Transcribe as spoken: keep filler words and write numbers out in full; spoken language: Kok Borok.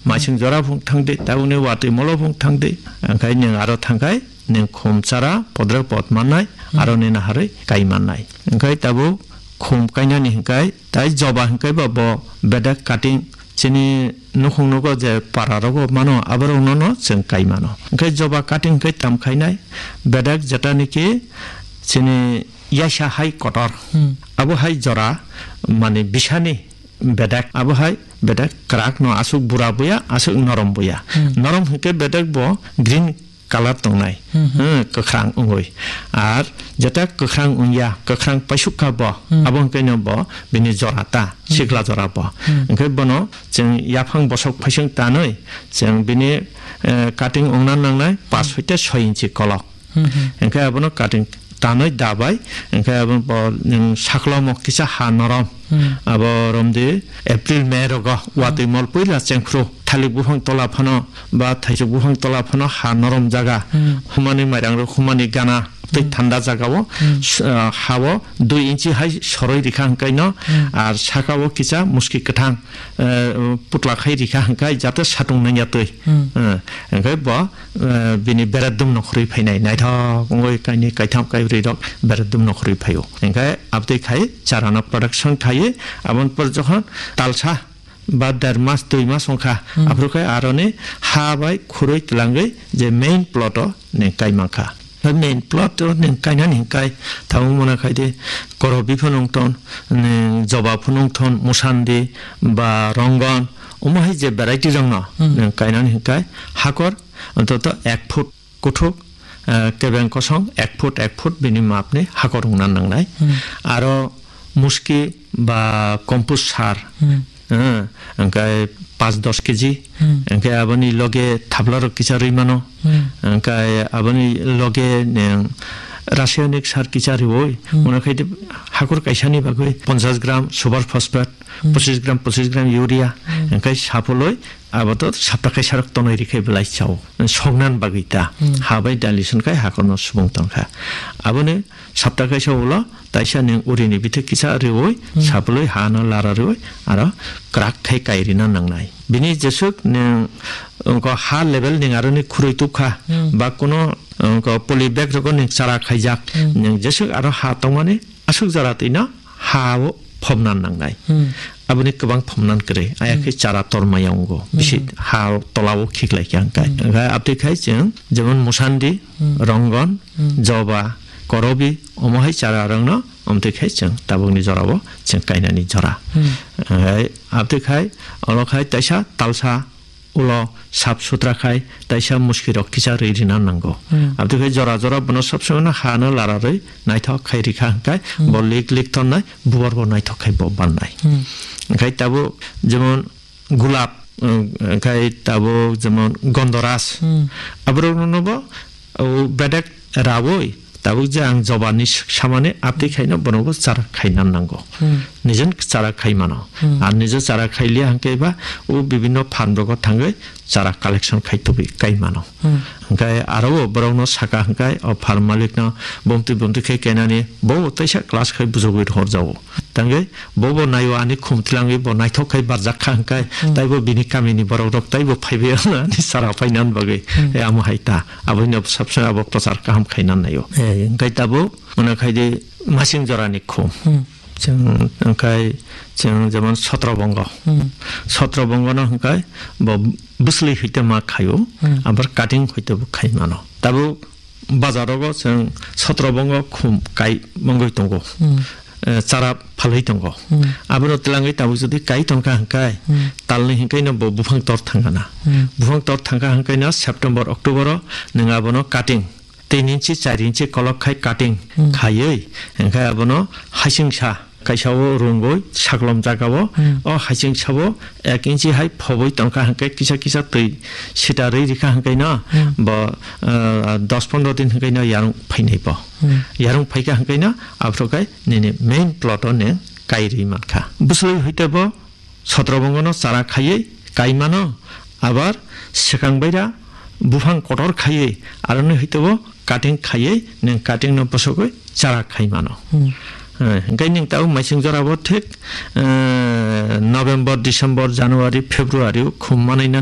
Maising jora phung thangdi, tabukni watwi molo phung thangdi. Angkhai nwng aro thangkhai, nwng khum chara, podrek pod mannai, Hmm. aro nini harwi kai mannai. Angkhai tabuk khum kainani hingkhai, tai joba hingkhai ba bo bedek cutting chini nukhung nugo je para rogo mano, aborok nono chwng kai mano. Hingkhai joba cutting hingkhai tam khainai, bedek jeta niki chini yaisa hai kotor. Hmm. Abo hai jora mani bisani bedek, abo hai bedek kwrak no aswk bura buya, aswk norom buya. Hmm. Norom hwnkhe bedek bo green colour tongnai. Hmm, hmm. Hmm, kwkhrang wngwi. Ar jeta kwkhrang wngya, kwkhrang paisuk kha bo, Hmm. abo hwnkhe no bo bini jora ta, Hmm. sikla jora bo. Hmm. Hwnkhe bono chwng yaphang bosok phaising tanwi chwng bini, eh, cutting wngna nangnai pas Hmm. hoite soi inchi kolok. Hmm, hmm. Hingkhe abono cutting tanwi dabai, hingkhe abo bo, nwng saklomo kisa ha norom. Hmm. Abo romdi April, May rogo watwi Hmm. mol puila chengkhru, thalik buphang tola phano ba thaisuk buphang tola phano ha norom jaga, Hmm. humani mairang rok humani gana tei Hmm. thanda jaga o, Hmm. s-, ah, ha o dui inchi hai soroi rikha hingkhe no, Hmm. ar saka o kisa muski kwthang, eh, putla khai rikha hingkhe jate satung nangya twi. Hmm. Eh, hingkhe bo eh, bini beredum no khurui phainai, naithok wngwi kainwi kaitham kaibrwi rok beredum no khurui phaio. Hingkhe abtwi khai chara no production khaiwi, aboni por jokhon talsa ba der mas, dui mas wngkha, Hmm. aphuru khe aroni ha bai khurui twlangwi je main plot o nwng kai mankha. Bai main plot o nwng kainani hingkhai tabuk mona khai de korobi phano wngthon, nwng joba phano wngthon, musandi ba rongon, omo hai je variety rok no Hmm. nwng kainani hingkhai hakor Antoto ek foot kuthuk, eh, kebeng kosong ek foot, ek foot bini mapni hakor wngna nangnai. Hmm. Aro muski ba compost sar, Hmm. eh, hingkhe panch dos kg, Hmm. hingkhe aboni loge thabla rok kisa rwi mano. Hmm. Hingkhe aboni loge nwng rasayonik sar kisa rwi, Hmm. mona khai de hakor kaisani bagwi ponchash gram super phosphate, Hmm. pochis gram, pochis gram urea, Hmm. hingkhe sapoloi abo to sapta kaisa rok tonwi rikhe belai chao. Soknan bagwi ta. Hmm. Ha bai dilution khai hakorno subung tongkha. Aboni sapta kaisa ulo taisa nwng urini bithik kisa rwi, Hmm. sapoloi ha no lara rwi, aro kwrak khai kai rina nangnai. Bini jeswk nwng wngkha ha level nwng aroni khurui tukha, Hmm. ba kuno wngkha poly bag rogo nwng chara khaijak, Hmm. nwng jeswk aro ha tongmani aswk jora twino ha o phobna nangnai. Hmm. Aboni kwbang phobna kwrwi. Aya khe Hmm. chara tormaya wngo. Hmm. Bisi ha o tola o khiklai khe hwnkhai. Hmm. Hwnkhai abtwi khai chwng jemon musandi, Hmm. rongon, Hmm. joba, korobi, omo hai chara rokno omtwi khai chwng tabukni jora o chwng kainani jora. Hmm. Hwnkhai abtwi khai olo khai taisa talsa ulo sap sutra khai taisa muski rok kisa rwi rina nango. Hmm. Abtwi khai jora jora bono sob somoi no ha no lara rwi naithok khai rikha hwnkhai Hmm. bo lik lik tonnai bubar bo naithok khai bo bannai. Hmm. Hwnkhai tabuk jemon gulab, um, hwnkhai tabuk jemon gondoras. Hmm. Aborok no bo o bedek rawi tabuk je ang jobani s-, samani abtwi khaino bono bo chara khaina nango. Hmm. Nijen chara khai mano. Hmm. Ar nijo chara khai liya hwnkhe ba o bibinno farm rogo thangwi chara collection khai tubui kai mano. Hmm. Hwnkhe aro bo borokno saka hwnkhe o farm malikno bumtwi bumtwi khe kenani bo teisa class khai bujogwi rohorjago. Tangwi bo bo naio ani khum twlangwi bo naithok khai barjak kha hwnkhe Hmm. taibo bini kamini borok rok taibo phaibai ani chara phainani bagwi. Hmm. E amo hai ta. Aboino sabsai abo prochar kaham khaina naio. Eh, hwnkhe tabuk mona khai di masing jorani khum. Hmm. Chwng hwnkhe chwng jemon sotro bongo. Hmm. Sotro bongono hwnkhe bo bwsli hoite ma khaio, Hmm. abar cutting hoite bo khai mano. Tabuk bazarogo chwng sotro bongo khum kai mongwi tongo. Hmm. Eh, chara phalwi tongo. Hmm. Abono twlangwi tabuk jodi kai tongkha hwnkhe Hmm. talni hwnkhe no bo buphang tor thangana. Hmm. Buphang tor thangkha hwnkhe no September, October o nwng abono cutting tin inchi, char inchi kolok khai cutting Hmm. khaiwi, hwnkhe abono hasingsa kaisa o rungwi saklom jaga o, Hmm. o hasingsa o ek inchi hai phobwi tongkha hwnkhe kisa kisa twi sita rwi rikha hwnkhe no Hmm. bo, ah, dos pondro din hwnkhe no yarung phainai bo. Hmm. Yarung phaikha hwnkhe no aphuru khe nini main plot o nwng kai rwi mankha. Bwswlwi hoite bo Sotro bongono chara khaiwi kai mano, abar swkang baira buphang kotor khaiwi aroni hwitebo cutting khaiwi nwng cutting no bosogwi chara khai mano. Hmm. Eh, hwnkhe nwng tabuk maising jora bo thik, eh, November, December, January, February o khum manwi